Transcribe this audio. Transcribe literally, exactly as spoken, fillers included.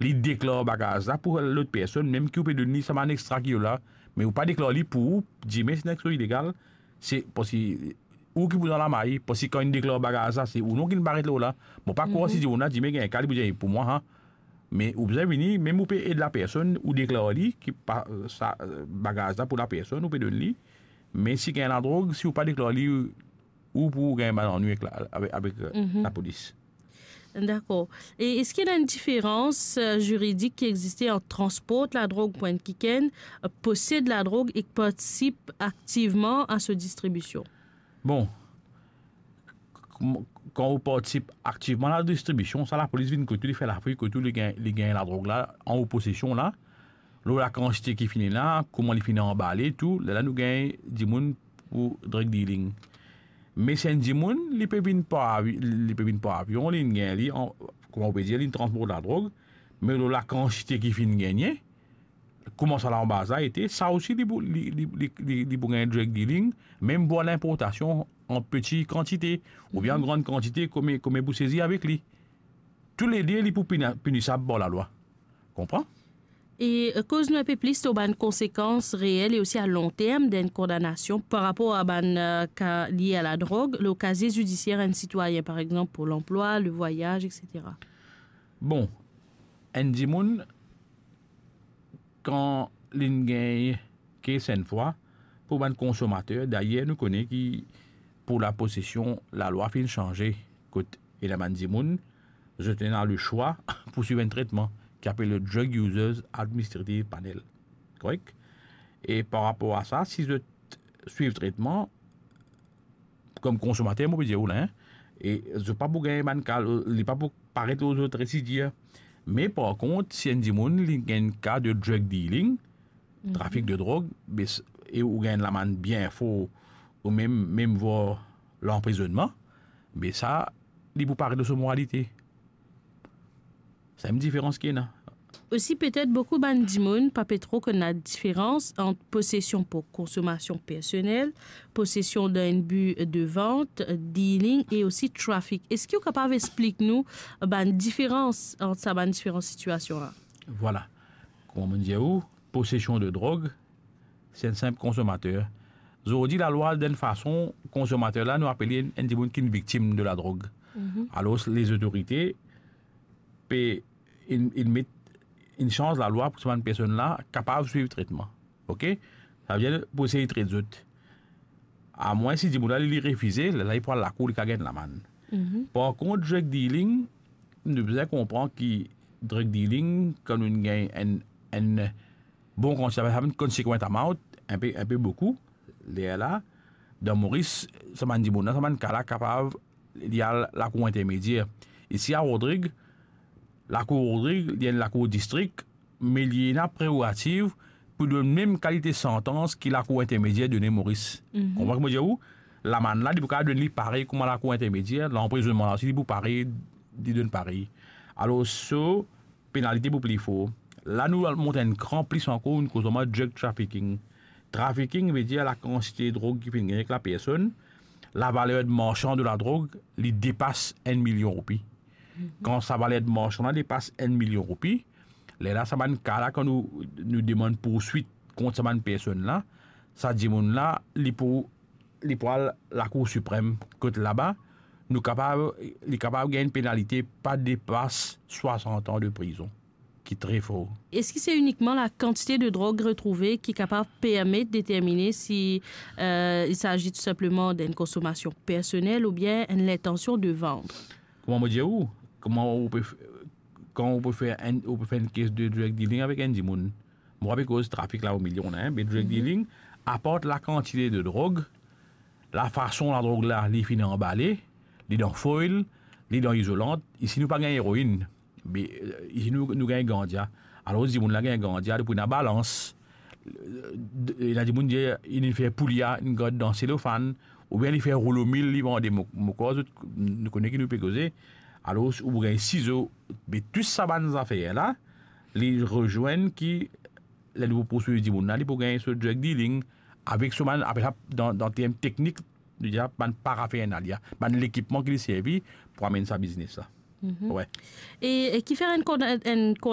li deklar bagaz la pou lot personn, mem ki ou pe donn li sa bann extra ki la, me ou pa deklar li pou ou, dime se enn extra ilegal, se parski ou ki pou dan lamari, parski kan li deklar bagaz la, se ou non ki paret lor la. Mo pa krwar si dimoun la dime gagn ka, li pou dir pou mwa, ha. Me ou bizin vini, mem ou pe ed lapersonn, ou deklar li ki pa, sa, bagaz la pou lapersonn, ou pe donn li. Me si gagn ladrog, si ou pa deklar li, ou pou gagn bann lannwi avek la, avek, avek, euh, lapolis. Dakor. E eski ena enn diferans, euh, ziridik ki existe ant transport ladrog pou enn kikenn, euh, posed ladrog ek partisip aktivman a so distribision? Bon, kan ou partisip aktivman a la distribision, sa lapolis vinn kot ou, li fer lafouy kot ou, li gagn, li gagn ladrog la an ou posesion la, lor lakantite ki finn ena, kouma li finn anbale, tou, lerla nou gagn dimoun pou drug dealing. Me si enn dimoun, li pe vinn par avi-, li pe vinn par avion, li gagn li, an, kouma ou pe dir, li transport ladrog, me lor lakantite ki finn gagne, kouma sa lanbaz la ete, sa osi li pou, li, li, li, li, li pou gagn drug dealing, mem vwar linportasion an peti kantite, oubien an gran kantite, kouma, kouma pou sezi avek li. Toulede, li pou pina-, pinisab par lalwa. Konpran? E, euh, koz nou enn pe plis lor bann konsekans reel e osi a long term d'enn kondanasion par rapor a bann, euh, ka lie a ladrog, lor kazie zidisier enn sitwayin, par exanp, pou lanplwa, le vwayaz, et cetera. Bon, enn dimoun, kan linn gagn kes enn fwa, pou bann konsomater, dayer nou kone ki pou laposesion, lalwa finn sanze, kot ena bann dimoun, zot ena leswa pou swiv enn tretman ki apel le Drug Users Administrative Panel. Korek? E par rapor a sa, si zot swiv tretman, kom konsomater, mo pe dir ou la, hein, e zot pa pou gagn bann ka, li pa pou paret lor zot residir. Me par kont, si enn dimoun, li gagn ka de drug dealing, trafik de drog, be s-, e ou gagn lamann bien for, ou mem, mem vwar lanprizonnman, be sa, li pou paret lor so moralite. Sa enn diferans ki ena. Osi, petet boukou bann dimoun pa pe tro konn ladiferans ant posesion pou konsomasion personel, posesion dan enn bi de vant, dealing e osi trafik. Eski ou kapav explik nou bann diferans ant sa bann diferan sitiasion la? Vwala. Kouma mo dir ou, posesion de drog, se enn sinp konsomater. Zordi, lalwa, dan enn fason, konsomater la, nou apel li enn, enn dimoun ki enn viktim de ladrog. Alor, lezotorite pe, inn, inn met, inn sanz lalwa pou sa bann personn la kapav swiv tretman. Ok? Savedir pou esey tret zot. Amwin si dimoun la, li, li refize, lerla li pou al lakour, li kav gagn lamann. Par kont, drug dealing, nou bizin konpran ki drug dealing, kan nou gagn enn, enn bon kantite, sa vedir enn consequent amount, enn pe, enn pe boukou, lerla, dan Moris, sa bann dimoun la, sa bann ka la kapav, li al lakour intermedier. Isi a Rodrig, lakour Rodrig, li enn lakour distrik, me li ena prerogativ pou donn mem kalite santans ki lakour intermedier donn Moris. Konpran ki mo dir ou? Lamann la, li pou kav donn li parey kouma lakour intermedier, lanprizonnman la osi, li pou parey, li donn parey. Alor, so, penalite pou pli for. La, nou al mont enn kran plis ankor, nou koz kouma drug trafficking. Trafficking vedir lakantite drog ki finn gagne ek lapersonn, lavaler de marsan de ladrog, li depas enn milion roupi. Kan sa valer de marsan la depas enn milion roupi, lerla sa bann ka la, kan nou, nou demann pourswit kont sa bann personn la, sa dimoun la, li pou, li pou al Lakour Siprem, kot laba, nou kapav, li kapav gagn enn penalite pa depas swasant an de prizon, ki tre for. Eski se inikman lakantite de drog retrouve ki kapav permet determine si, euh, il s'agit tout simplement d'une consommation personnelle ou bien une intention de vendre? Kouma mo dir ou, kouma ou pe f-, kan ou pe fer enn, ou pe fer enn kes de drug dealing avek enn dimoun, mo pa pe koz trafik la o milion la, hein, me drug dealing, apar lakantite de drog, lafason ladrog la, li finn anbale, li dan foil, li dan izolant, isi nou pa gagn eroin, me, euh, isi nou, nou gagn ganja. Alor, dimoun la gagn ganja, li pou ena balans. Euh, ena dimoun dir, li fer poulia, li gard dan selofann, oubien li fer roulo mil, li vande. Mo, mo krwar zot, nou kone ki nou pe koze. Alor, ou pou gagn sizo, me tou sa bann zafer la, li rezwenn ki, ler li pou pourswiv dimoun la, li pou gagn so drug dealing, avek so bann, apel sa dan, dan term teknik, nou dir bann paraphernalia, bann lekipman ki li servi pou amenn sa biznes la. Mhm. Wi. E, e kifer enn konda-, enn konda-,